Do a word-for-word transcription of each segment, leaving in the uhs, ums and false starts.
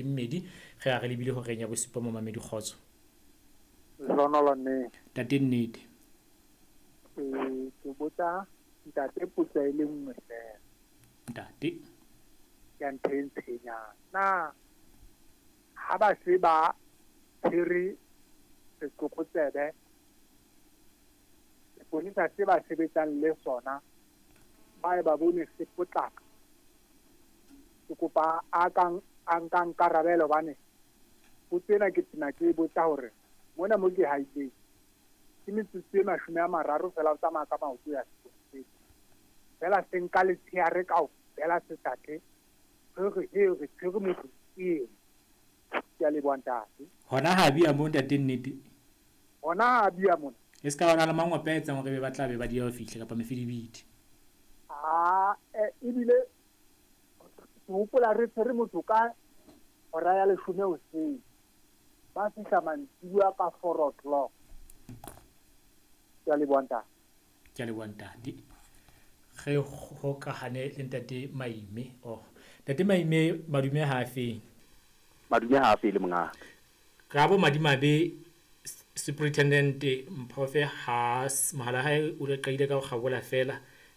Mmedi ge a re lebile horeng ya bosupa momamedi kgotso. Lehlohonolo mme. Ntate nnete. Ee, ke botsa ntate potso e le nngwe fela. Ntate. Ya ntho e ntshwenyang. Na ha ba se ba tshwere setlokotsebe, seponesa se ba sebetsang le sona, ba e ba bone se potlaka. Ke kopa a kang a nkang karabelo hobane potso ena ke tena ke e botsa hore mona mo ke haileng ke metsotso e mashome a mararo fela o tsamaya ka maoto ya seponeseng. Fela se nka letshehare kaofela se sa tle. Re re he re tshwere motho ke ena. Ke a leboha ntate. Hona ha bia mo ntate nnete. Hona ha bia mona. E ska ba na le mangope a etsang hore be ba tla be ba dieha ho fihla kapa mefidibidi. Ah, eh, ebile ke hopola re tshwere motho ka hora ya leshome hoseng. Ba fihla mantsibuya ka four o'clock. Ke a leboha ntate. Ke a leboha ntate. Re hokahane le ntate Maime. Oh, ntate Maime madume ha a feng? Madume ha a fele mongaka. Ka bo madimabe Superintendent Mphofe ha mohala hae o le qadile ka ho kgabola fela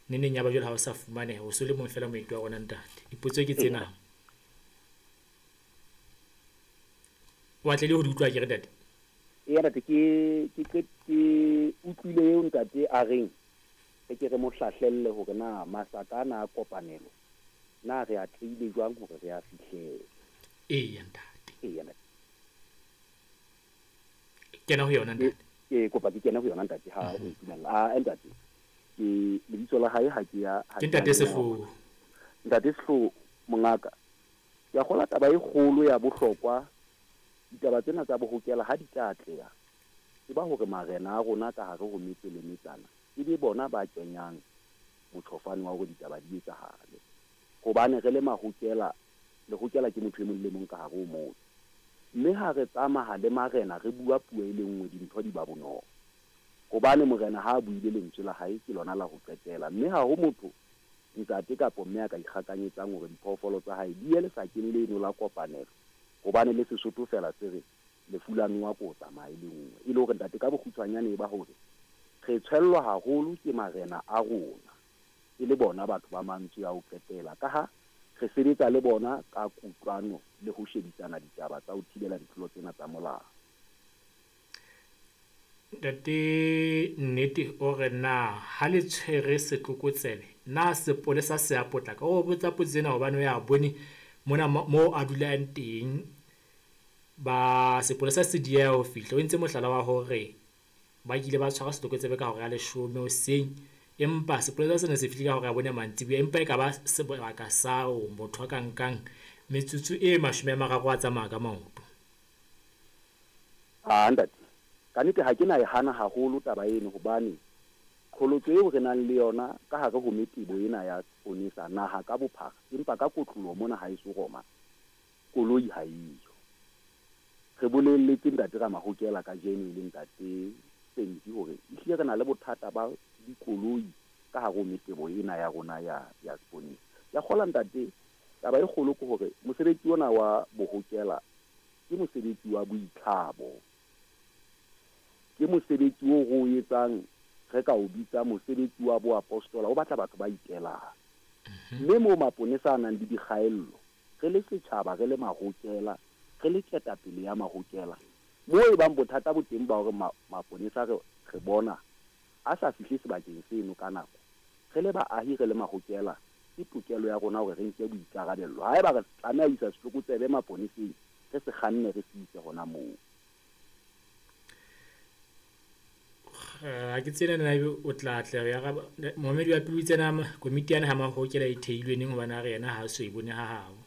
neneng ya ba jwale ha o sa fumaneha o so le mong fela moeti wa rona ntate. Dipotso ke tsena. O atlehile ho di utlwa akere ntate? Eya ntate, ke ke ke ke utlwile eo ntate a reng re ke re mo hlahlelle hore na masaka ana a kopanelo na re atlehile jwang hore re a fihlele. Eya ntate. Eya ntate. Kena ho yona ntate. Ke kopa ke kene ho yona ntate ha o ntumella. Ah ntate, ke lebitso la hae ha ke ya Ke ntate Sehloho. Ntate Sehloho mongaka. Ke a kgola taba e kgolo ya bohlokwa. Ditaba tsena tsa bohokela ha di tla atleha. Ke ba hore marena a rona ka hare ho metse le metsana e be bona ba kenyang motjhofane wa hore ditaba di etsahale. Hobane re le mahokela, lehokela ke motho e mong le mong ka hare ho motse. Mme ha re tsamaya le marena re bua puo e le nngwe dintho di ba bonolo. Hobane morena ha a buile lentswe la hae ke lona la ho qetela. Mme ha ho motho ntate kapa mme a ka ikgakanyetsang hore diphoofolo tsa hae di ye lesakeng leno la kopanelo. Hobane le Sesotho fela se re lefu la nowa ko tsamaya e le nngwe. E le hore ntate ka bokgutshwanyane e ba hore re tshwellwa haholo ke marena a rona e le bona batho ba mantswe a ho qetela. Ka ha re sebetsa le bona ka kutlwano le ho shebisana ditaba tsa ho thibela ditlolo tsena tsa molao. Ntate nnete o re na ha le tshwere setlokotsebe na sepolesa se a potlaka? O botsa potso ena hobane o ya bone mona mo a dulang teng ba sepolesa se dieha ho fihla. O entse mohlala wa hore ba kile ba tshwara setlokotsebe ka hora ya leshome hoseng, empa sepolesa sena se fihlile ka hora ya bone mantsibuya, empa e ka ba sebaka sa motho a ka nkang metsotso e mashome a mararo a tsamaya ka maoto. Ah ntate, ka nnete ha ke na e hana haholo taba eno hobane qholotso eo re nang le yona ka hare ho metebo ena ya seponesa naha ka bophara, empa ka kotloloho mona ha eso Roma koloi ha eyo. Re bolelletse ntate Ramahokela kajeno e le ntate Senti hore ehlile re na le bothata ba dikoloi ka hare ho metebo ena ya rona ya ya seponesa. Ke a kgolwa ntate, taba e kgolo ke hore mosebetsi ona wa bohokela ke mosebetsi wa boitlhabo. Ke mosebetsi o re o etsang re ka o bitsa mosebetsi wa boapostola, o batla batho ba itelang. Mme moo maponesa a nang le dikgaello, re le setjhaba, re le mahokela, re le ketapele ya mahokela, moo e bang bothata bo teng ba hore maponesa re re bona a sa fihle sebakeng seno ka nako. Re le baahi, re le mahokela, ke tokelo ya rona hore re nke boikarabello. Haeba re tlameha ho isa setlokotsebe maponeseng, re se kganne re se ise hona moo. Ha ke tsebe na ebe o tla tla ya momamedi wa pele o itse na komiti ya naha mahokela e theilwe neng hobane a re yena ha so e bone ha habo.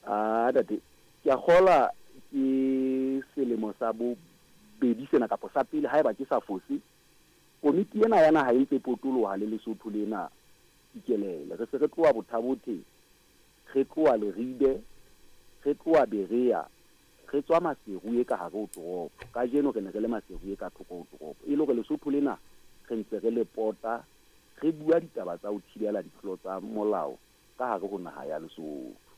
Ah ntate, ke a kgola ke selemo sa bobedi sena kapa sa pele haeba ke sa fose. Komiti ena ya naha e ntse potoloha le Lesotho lena ikelele. Re se re tloha Bothabothe, re tloha Leribe, re tloha Berea, re tswa Maseru e ka hare ho toropo. Kajeno re ne re le Maseru e ka thoko ho toropo. E le hore Lesotho lena re ntse re le pota, re bua ditaba tsa ho thibela ditlolo tsa molao ka hare ho naha ya Lesotho.